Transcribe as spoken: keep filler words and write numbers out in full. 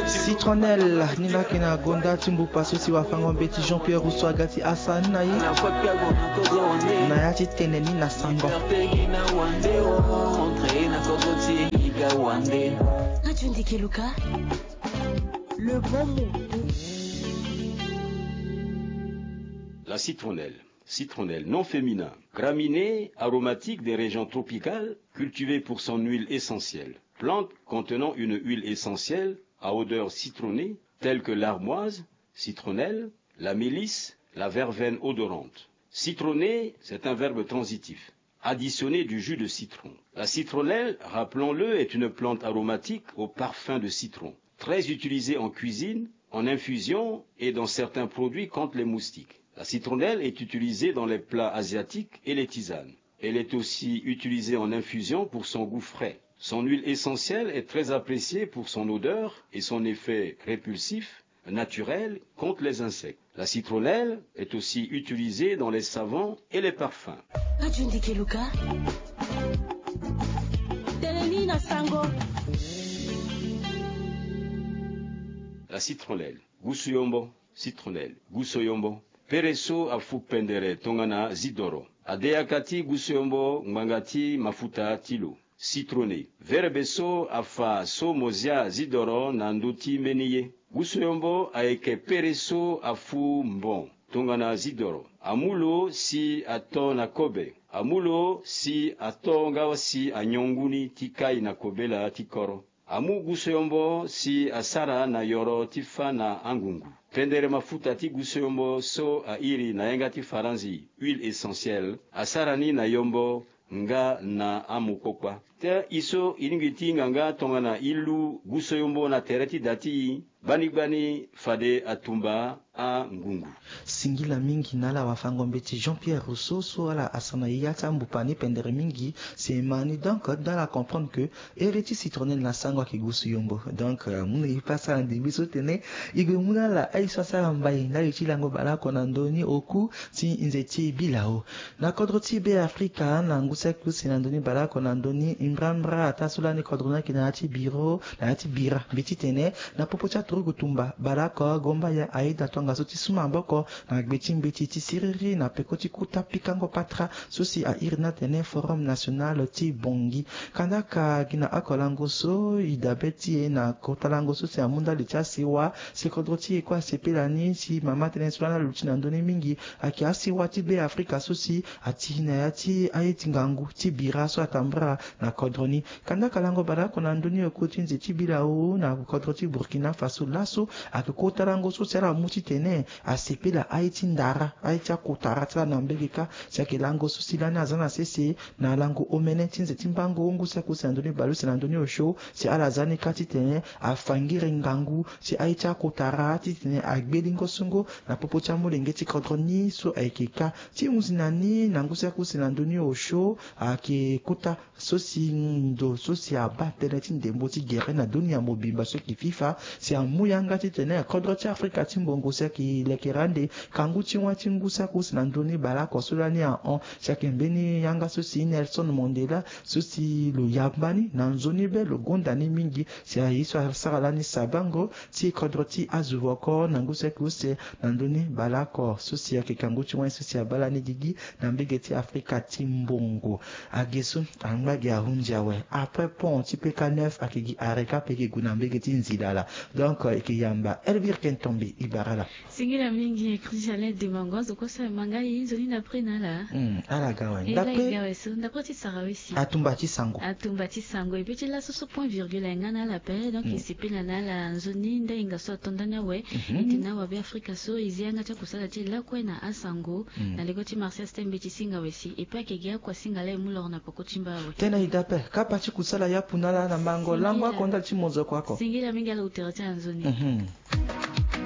Citronnelle ni laki na gonda ti mbupa so si wafango mbeti Jean-Pierre Rousseau aga ti asa ni na ye na ya ti tene ni na sango. Le bon mot. La citronnelle. Citronnelle, nom féminin. Graminée aromatique des régions tropicales, cultivée pour son huile essentielle. Plante contenant une huile essentielle à odeur citronnée, telle que l'armoise, citronnelle, la mélisse, la verveine odorante. Citronner, c'est un verbe transitif. Additionner du jus de citron. La citronnelle, rappelons-le, est une plante aromatique au parfum de citron, très utilisée en cuisine, en infusion et dans certains produits contre les moustiques. La citronnelle est utilisée dans les plats asiatiques et les tisanes. Elle est aussi utilisée en infusion pour son goût frais. Son huile essentielle est très appréciée pour son odeur et son effet répulsif, naturel, contre les insectes. La citronnelle est aussi utilisée dans les savons et les parfums. Radio Ndikeluka. Teleni na sango. La citronnelle. Gusu yombo. Citronnelle. Gusu yombo. Pere so afu pendere tongana zidoro. Adeyaka ti gusu yombo ngbanga ti mafuta ti lo. Citronner. Verbe so afa so mo zia zidoro na ndö ti mbeni ye. Gusu yombo ayeke pere so afu mbon tongana zidoro. Amu lo si ato na kobe. Amu lo si ato nga si anyon nguni ti kai na kobela ti koro. Amu gusu yombo si asara na yoro ti fa na angungu. Pendere mafuta ti gusu yombo so airi na yanga ti faranzi huile essentielle asara ni na yombo nga na amokpokpa. Te i so i lingbi ti hinga nga tongana i lu gusu yombo na tere ti da ti i, gbani gbani fade atumba angungu. Singila mingi na ala wafango mbeti Jean-Pierre Rousseau so ala asa na ya ti ambupa ni pendere mingi. Si e ma ni donc, dans la comprendre que ere ti citronnelle na sango ayeke gusu yombo. Donc, euh, mu na e pasa na ndembe so tene e gue mu na ala aye so asara mbai ndali ti lango baleoko na ndö ni oku ti nze ti bilao. Na kodro ti Be Afrika, na ngu saki use na ndö ni baleoko na ndö ni mbrambra ataa so lani kodro ni ayeke na ya ti biro, na ya ti bira. Mbi titene na popo ti aturugu tumba baleoko Gombaya aye daa tongaso ti su maboko na gbe ti mbeti ti siriri na peko ti kota pikango patara so si airi ni atene Forum National ti Bangui. Kandaka gi na oko lango so e dabe ti e na kota lango so si amu ndali ti asiwa si kodro ti e kue asepela ni si mama tënë so lani aluti na ndö ni mingi ayeke asiwa ti Be Afrika so si ati na ya ti aye ti ngangu ti bira so atambara na kodro ni. Kandaka lango baleoko na ndö ni oko ti nze ti bilao na kodro ti Burkina Faso laso ayeke kota lango so si ala mu titene asepela aye ti ndara, aye ti akotara ti ala na mbege kâ. Si ayeke lango so si lani aza na sese na lango omene ti nze ti mbango ngu saki use na ndö ni baleuse na ndö ni osio si ala za ni kâ titene afa ngiri ngangu si aye ti akotara titene agbe lingo sungo na popo ti amolenge ti kodro ni so ayeke kâ. Ti hunzi na ni na ngu saki use na ndö ni osio ayeke kota so si ndo so si abaa tënë ti ndembo ti gere na dunia mobimba so ayeke FIFA si amu yanga titene kodro ti Afrika ti mbongo si ayeke lekere ande kangu ti wâ ti ngu saki use na ndö ni baleoko so lani ahon si ayeke mbeni yanga so si Nelson Mandela so si lo yamba ni na nzoni be lo gonda ni mingi si aye so asara lani sabango ti kodro ti azo oko na ngu saki use na ndö ni baleoko so si ayeke kangu ti wâ so si abaa lani gigi na mbege ti Afrika ti mbongo. Age so angba gi ahunzi awe. Après pont ti P K neuf ayeke gi arrêt kâ mpe gi gue na mbege ti nzila laa. Donc e yeke yamba Elvire Kentombi e bara ala. Singila mingi Christian Dimango azo kue so aye ma ngai nzoni ndapre na ala. Hmm, ala ga awe. E la e ga awe so ndapre ti sara we si atumba ti sango. Atumba ti sango e pe ti laso so point virgule aye nga na ala ape. Donc e sepela na ala nzoni ndainga so ato ndani awe. E tene awabe Afrika so e zi yanga ti akusala ti e lakue na asango. Na leko ti Martial Stembe ti singa we si e pe ayeke gi akuasinga laa e mu loro na poko ti mba awe. Tënë e daa ape kapa ti kusala yapu na ala na mango lango ako ndali ti mozoko ako. Singila mingi ala utere ti ala nzoni.